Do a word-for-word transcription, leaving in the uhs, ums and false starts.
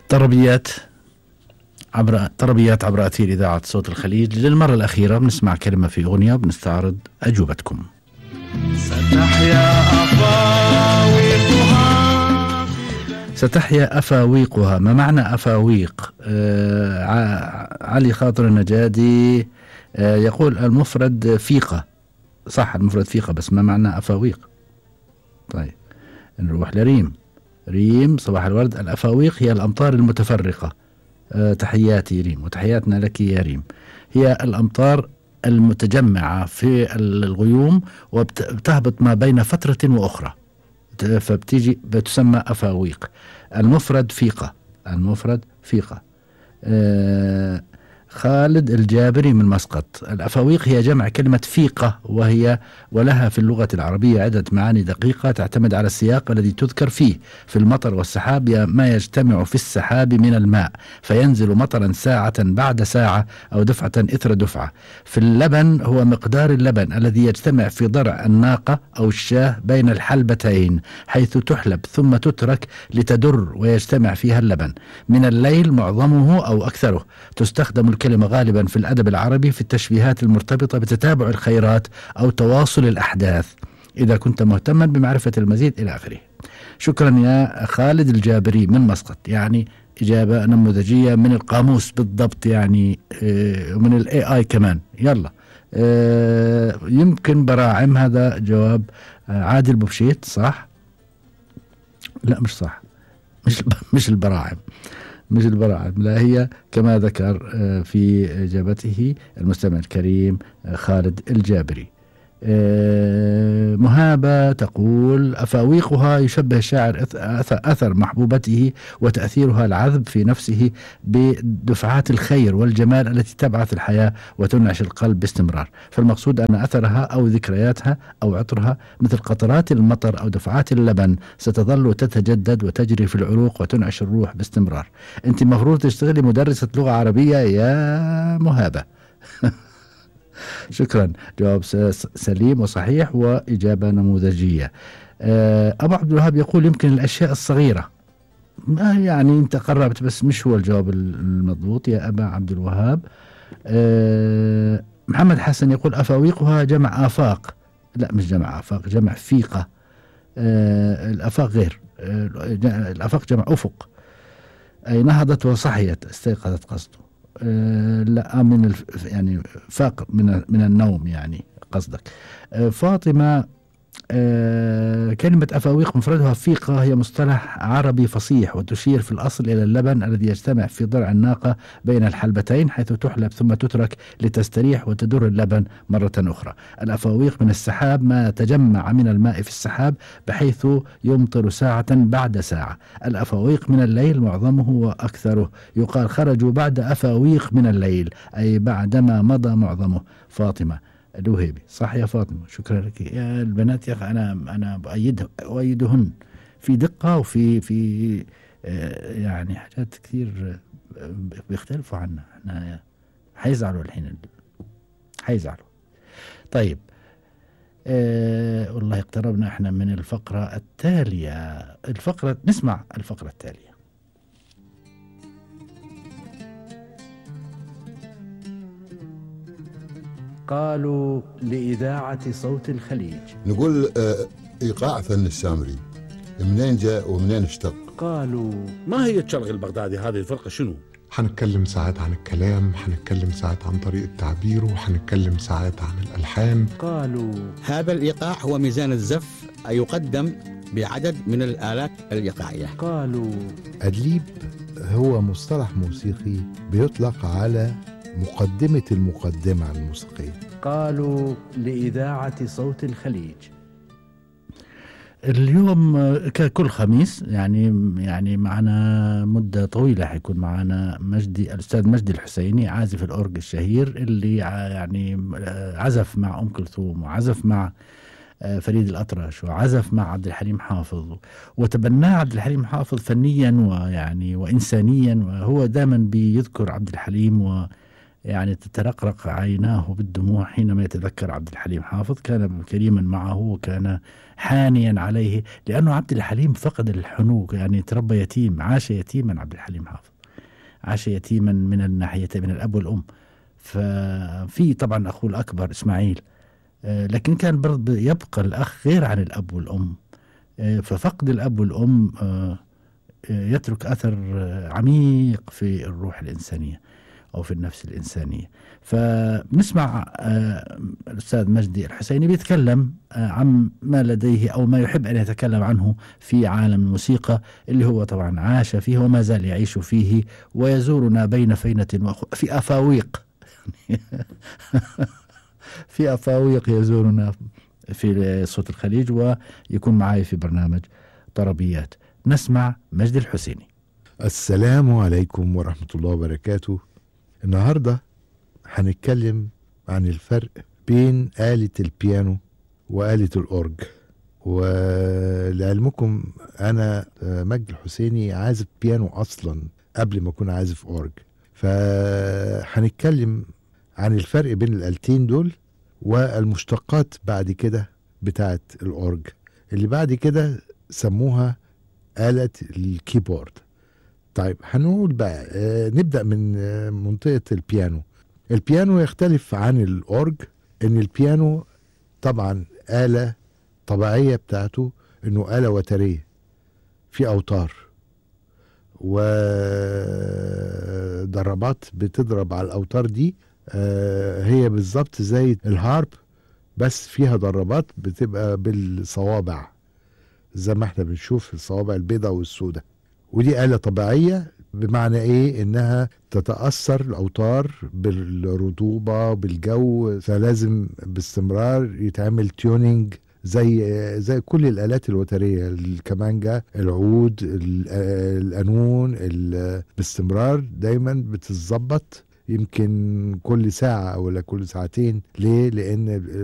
طربيات عبر طربيات عبر أثير إذاعة صوت الخليج. للمرة الأخيرة بنسمع كلمة في أغنية وبنستعرض أجوبتكم. ستحيا أفاويقها ستحيا أفاويقها. ما معنى أفاويق؟ آه علي خاطر النجادي آه يقول المفرد فيقة. صح، المفرد فيقة، بس ما معنى أفاويق؟ طيب نروح لريم. ريم صباح الورد. الأفاويق هي الأمطار المتفرقة. أه تحياتي ريم وتحياتنا لك يا ريم. هي الأمطار المتجمعة في الغيوم وبتهبط ما بين فترة وأخرى، فبتيجي بتسمى أفاويق. المفرد فيقة. المفرد فيقة. أه خالد الجابري من مسقط. الأفاويق هي جمع كلمة فيقة، وهي ولها في اللغة العربية عدة معاني دقيقة تعتمد على السياق الذي تذكر فيه. في المطر والسحاب ما يجتمع في السحاب من الماء فينزل مطرا ساعة بعد ساعة أو دفعة إثر دفعة. في اللبن هو مقدار اللبن الذي يجتمع في ضرع الناقة أو الشاه بين الحلبتين حيث تحلب ثم تترك لتدر ويجتمع فيها اللبن. من الليل معظمه أو أكثره. تستخدم الكلمة غالبا في الأدب العربي في التشبيهات المرتبطة بتتابع الخيرات أو تواصل الأحداث إذا كنت مهتما بمعرفة المزيد إلى آخره. شكرا يا خالد الجابري من مسقط. يعني إجابة نموذجية من القاموس بالضبط، يعني ومن الاي اي كمان. يلا يمكن براعم. هذا جواب عادل بوبشيت. صح؟ لا مش صح، مش مش البراعم، مش البراعم، لا هي كما ذكر في إجابته المستمع الكريم خالد الجابري. مهابة تقول أفاويقها يشبه الشاعر أثر محبوبته وتأثيرها العذب في نفسه بدفعات الخير والجمال التي تبعث الحياة وتنعش القلب باستمرار. فالمقصود أن أثرها أو ذكرياتها أو عطرها مثل قطرات المطر أو دفعات اللبن ستظل تتجدد وتجري في العروق وتنعش الروح باستمرار. أنت مفروض تشتغلي مدرسة لغة عربية يا مهابة. شكرا، جواب سليم وصحيح وإجابة نموذجية. أبو عبد الوهاب يقول يمكن الأشياء الصغيرة. يعني أنت قربت بس مش هو الجواب المضبوط يا أبا عبد الوهاب. محمد حسن يقول أفاويقها جمع آفاق. لا مش جمع آفاق، جمع فيقة. الآفاق غير، الآفاق جمع أفق. أي نهضت وصحيت استيقظت قصده. أه لا من الف يعني فاق من من النوم يعني قصدك. أه فاطمة أه كلمة أفاويق مفردها فيقة هي مصطلح عربي فصيح وتشير في الأصل إلى اللبن الذي يجتمع في ضرع الناقة بين الحلبتين حيث تحلب ثم تترك لتستريح وتدر اللبن مرة أخرى. الأفاويق من السحاب ما تجمع من الماء في السحاب بحيث يمطر ساعة بعد ساعة. الأفاويق من الليل معظمه وأكثره. يقال خرجوا بعد أفاويق من الليل أي بعدما مضى معظمه. فاطمة الوهيبي. صح يا فاطمة، شكرا لك. يا البنات يا أخي أنا أنا بأيده أؤيدهن في دقة وفي في آه يعني حاجات كثير بيختلفوا عنا. احنا حيزعلوا الحين، حيزعلوا. طيب آه والله اقتربنا احنا من الفقرة التالية. الفقرة نسمع الفقرة التالية. قالوا لإذاعة صوت الخليج. نقول آه إيقاع فن السامري منين جاء ومنين اشتق؟ قالوا ما هي الشرق البغدادي هذه الفرقة شنو؟ حنتكلم ساعات عن الكلام، حنتكلم ساعات عن طريقة تعبيره، وحنتكلم ساعات عن الألحان. قالوا هذا الإيقاع هو ميزان الزف يقدم بعدد من الآلات الإيقاعية. قالوا أدليب هو مصطلح موسيقي بيطلق على مقدمة المقدمة الموسيقية. قالوا لإذاعة صوت الخليج. اليوم ككل خميس يعني يعني معنا مدة طويلة حيكون معنا مجدي الأستاذ مجدي الحسيني عازف الأورج الشهير اللي يعني عزف مع أم كلثوم وعزف مع فريد الأطرش وعزف مع عبد الحليم حافظ وتبناه عبد الحليم حافظ فنيا ويعني وإنسانيا، وهو دائما بيذكر عبد الحليم و يعني تترقرق عيناه بالدموع حينما يتذكر عبد الحليم حافظ. كان كريما معه وكان حانيا عليه، لأنه عبد الحليم فقد الحنو، يعني تربى يتيم، عاش يتيما عبد الحليم حافظ، عاش يتيما من الناحية من الأب والأم. ففي طبعا أخوه الأكبر إسماعيل، لكن كان برضه يبقى الأخ غير عن الأب والأم. ففقد الأب والأم يترك أثر عميق في الروح الإنسانية أو في النفس الإنسانية. فنسمع الأستاذ مجدي الحسيني بيتكلم عن ما لديه أو ما يحب أن يتكلم عنه في عالم الموسيقى اللي هو طبعا عاش فيه وما زال يعيش فيه، ويزورنا بين فينة وأخو في أفاويق في أفاويق يزورنا في صوت الخليج، ويكون معي في برنامج طربيات. نسمع مجدي الحسيني. السلام عليكم ورحمة الله وبركاته. النهاردة هنتكلم عن الفرق بين آلة البيانو وآلة الأورج. ولعلمكم أنا مجدي الحسيني عازف بيانو أصلا قبل ما أكون عازف أورج، فهنتكلم عن الفرق بين الآلتين دول والمشتقات بعد كده بتاعت الأورج اللي بعد كده سموها آلة الكيبورد. طيب هنقول بقى آه نبدأ من آه منطقة البيانو. البيانو يختلف عن الأورج إن البيانو طبعا آلة طبيعية بتاعته إنه آلة وترية في أوتار وضربات بتضرب على الأوتار دي. آه هي بالظبط زي الهارب بس فيها ضربات بتبقى بالصوابع زي ما احنا بنشوف الصوابع البيضاء والسوداء. ودي آلة طبيعية بمعنى ايه؟ انها تتأثر الاوتار بالرطوبة بالجو، فلازم باستمرار يتعمل تيونينج زي زي كل الآلات الوترية، الكمانجا، العود، القانون، باستمرار دايما بتتظبط، يمكن كل ساعة ولا كل ساعتين. ليه؟ لأن